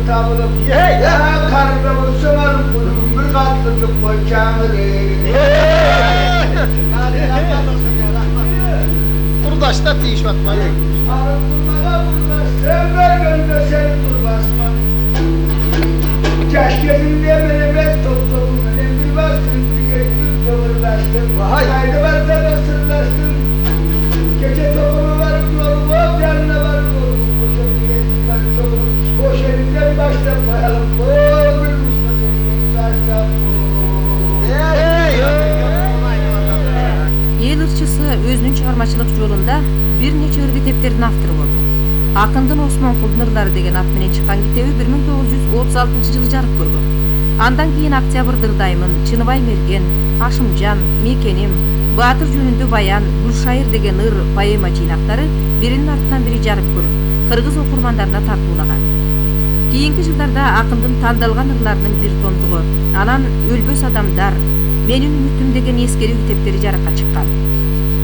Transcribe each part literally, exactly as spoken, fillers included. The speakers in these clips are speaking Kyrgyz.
tabılıp ya karnına olsalar bunun bir katlıcık koyacağını Kurdaşta tiyiş batmayı. Arıtılmağa burdaş, sen vergönde seni durbasma. Keşkezinde menemet toplumun, önem bir bastın, bir geçtim, tavırlaştın. Haydi varsa da sırlaştın. Gece topumu varıp yolum, o canına varıp yolum. Boş elinden var çoğum, boş elinden başta koyalım. O bir Müslüman elinden başta Эл ырчысы өзүнүн чыгармачылык жолунда бир нече ыр китептердин автору болду. Акындын Осмонкулдун ырлары деген ат менен чыккан китеби бир миң тогуз жүз отуз алтынчы жылы жарык көргөн. Андан кийин Октябрь Дырдаймын, Чыныбай Мерген, Ашымжан, Мекеним, Баатыр жөнүндө баян, Гүлшайыр деген ыр поэма жыйнактары биринин артынан бири жарык көрүп, кыргыз окурмандарына тартуулаган. Кийинки жылдарда акындын тандалган ырларынын бир томдугу, анан Өлбөс адамдар, Менин үмүтүм деген эскерүү китептери жарыкка чыккан.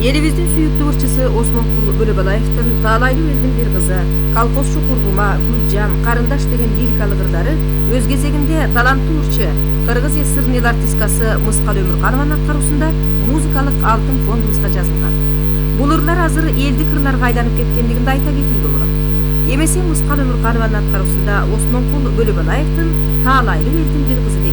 Элибиздин сүйүктүү ырчысы Осмонкул Бөлөбалаевдин Таалайлуу элдин бир кызы, Колхозчу курбума, Гүлжан, Карындаш деген лирикалык ырлары өз кезегинде таланттуу ырчы Кыргыз эсэринин артисткасы Мыскал Өмүрканованын аткаруусунда музыкалык алтын фондубузга жазылган. Бул ырлар азыр элдик ырларга айланып кеткендигин да айта кетүүгө болот. Эмесе Мыскал Өмүрканованын аткаруусунда Осмонкул Бөлөбалаевдин Таалайлуу элдин бир кызы